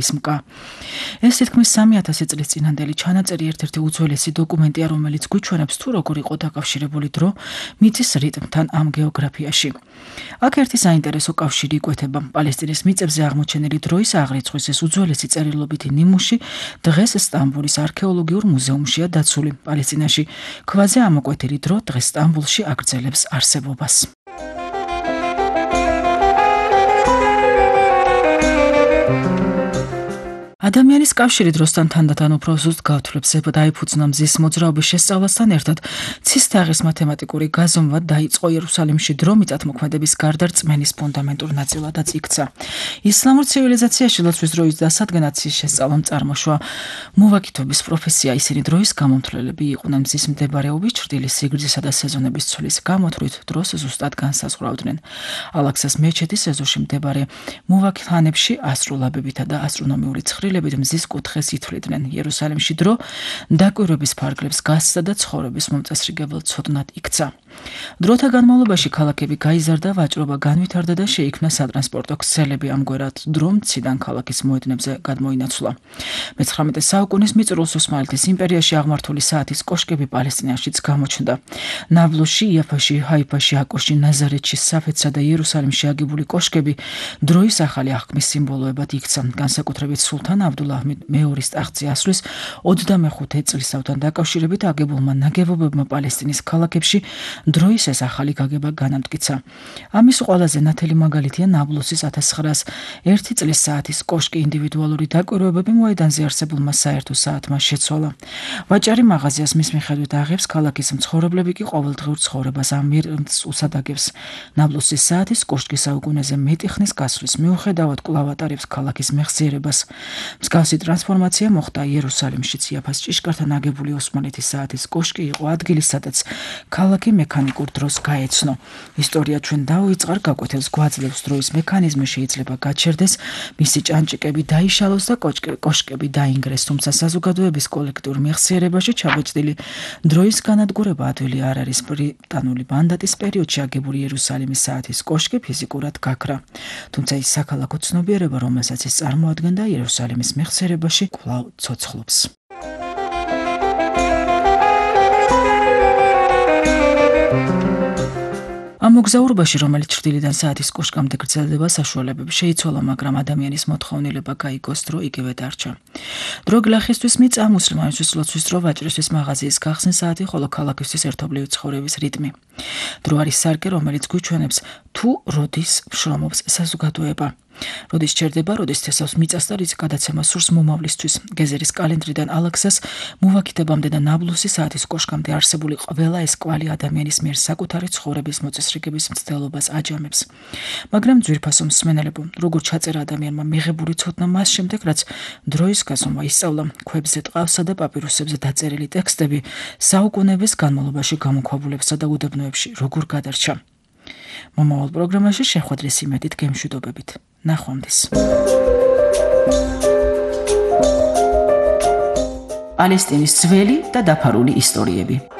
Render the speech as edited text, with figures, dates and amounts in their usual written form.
ისმკა. ეს თითქმის 3000 წლის წინანდელი ჩანაწერი ერთ-ერთი უძველესი დოკუმენტია, რომელიც გვიჩვენებს თუ როგორ იყო დაკავშირებული დრო მიწის რიტმთან ამ გეოგრაფიაში. აქ ერთი საინტერესო კავშირი იკვეთება. პალესტინის მიწებზე აღმოჩენილი დროის აღრიცხვის ეს უძველესი წერილობითი ნიმუში დღეს სტამბოლის არქეოლოგიურ მუზეუმშია დაცული. პალესტინაში ქვაზე ამოკვეთილი დრო დღეს სტამბოლში აგრძელებს არსებობას. ადამიანის კავშირი დროსთან თანდათან უფრო ზუსტ გავთვლებს დაიფუძნა მზის მოძრაობის შესწავლასთან ერთად ცის თაღის მათემატიკური გაზომვა დაიწყო იერუსალიმში დრო მიწათმოქმედების გარდა რწმენის ფუნდამენტურ ნაწილადაც იქცა. ისლამურ ცივილიზაციაში ლოცვის დროის დასადგენად ცის შესწავლამ წარმოშვა მოვაკითობის პროფესია. ისინი დროის გამომთვლელები იყვნენ მზის მდებარეობის ჩრდილის სიგრძისა და სეზონების ცვლის გამოთვლით დროს ზუსტად განსაზღვრავდნენ. ალაქსას მეჩეთის ეზოში მდებარე მოვაკითხანებში ასტროლაბებითა და ასტრონომიული ცხრილებით მზის კუთხეს ითვლიდნენ. იერუსალიმში დრო დაკვირვების ფარგლებს გასცდა და ცხოვრების მომწესრიგებელ ცოდნად იქცა. დროთა განმავლობაში ქალაქები გაიზარდა, ვაჭრობა განვითარდა და შეიქმნა სატრანსპორტო ქსელები. ამგვარად დრო მციდან ქალაქის მოედნებზე გადმოინაცვლა. მე-19 საუკუნის მიწურულს ოსმალეთის იმპერიაში აღმართული საათის კოშკები პალესტინაშიც გამოჩნდა. ნაბლუსში, იაფაში, ჰაიფაში, აკოში, ნაზარეთში, საფეთსა და იერუსალიმში აგებული კოშკები დროის ახალი აღქმის სიმბოლოებად იქცა. განსაკუთრებით სულთან აბდულაჰ მეორის ტახტზე ასვლის 25 წლისთავთან დაკავშირებით აგებულმა ნაგებობებმა პალესტინის ქალაქებში დროის ეს ახალი გაგება განამტკიცა. ამის ყველაზე ნათელი მაგალითია ნაბლუსის 1901 წლის საათის კოშკი. ინდივიდუალური დაკვირვებები მოედანზე არსებულმა საერთო საათმა შეცვალა. ვაჭარი მაღაზიას მის მიხედვით აღებს, ქალაქის მცხოვრებლები კი ყოველდღიურ ცხოვრებას ამ მიზნს უსადაგებს. ნაბლუსის საათის კოშკი საუკუნეზე მეტი ხნის გასვლის მიუხედავად კვლავ ატარებს ქალაქის მეხსიერებას. მსგავსი ტრანსფორმაცია მოხდა იერუსალიმშიც. იაფას ჭიშკართან აგებული ოსმალეთის საათის კოშკი იყო ადგილი, სადაც ქალაქი მექანიკურ დროს გაეცნო. ისტორია ჩვენ დავიწყარ, გაკვეთილს გვაძლევს დროის მექანიზმი შეიძლება გაჩერდეს, მისი ჭანჭიკები დაიშალოს და კოშკები დაინგრეს, თუმცა საზოგადოების კოლექტიურ მეხსიერებაში ჩაბეჭდილი დროის განადგურება ადვილი არ არის. ბრიტანული მანდატის პერიოდში აგებული იერუსალიმის საათის კოშკი ფიზიკურად გაქრა. თუმცა ის საქალაქო ცნობიერება, რომელსაც ის წარმოადგენდა, იერუსალიმის მეხსიერებაში კვლავ ცოცხლობს. ამ მოგზაურობაში, რომელიც ჩრდილიდან საათის კოშკამდე გრძელდება, საშუალებები შეიცვალა, მაგრამ ადამიანის მოთხოვნილება გაიგოს დრო იგივე დარჩა. დრო გლახისთვის მიწა, მუსლიმანისთვის ლოცვის დრო, ვაჭრისთვის მაღაზიის გახსნის საათი, ხოლო ქალაქისთვის ერთობლივი ცხოვრების რიტმი. დრო არის სარკე, რომელიც გვიჩვენებს თუ როდის შრომობს საზოგადოება. როდის ჩერდება, როდის თესავს მიწას და რის გადაცემა სურს მომავლისთვის. გეზერის კალენდრიდან ალაქსას მოვაკითებამდე და ნაბლუსის საათის კოშკამდე არსებული ყველა ეს კვალი ადამიანის მიერ საკუთარი ცხოვრების მოწესრიგების მცდელობას აჯამებს. მაგრამ ძვირფასო მსმენელებო, როგორ ჩაწერა ადამიანმა მიღებული ცოდნა მას შემდეგ, რაც დროის გაზომვა ისწავლა, ქვებზე ტყავსა და პაპირუსებზე დაწერილი ტექსტები საუკუნეების განმავლობაში გამოქვაბულებსა და უდაბნოებში როგორ გადარჩა. მომავალ პროგრამაში შეხვედრის იმედით გემშვიდობებით. ნახვამდის. პალესტინის ძველი და დაფარული ისტორიები.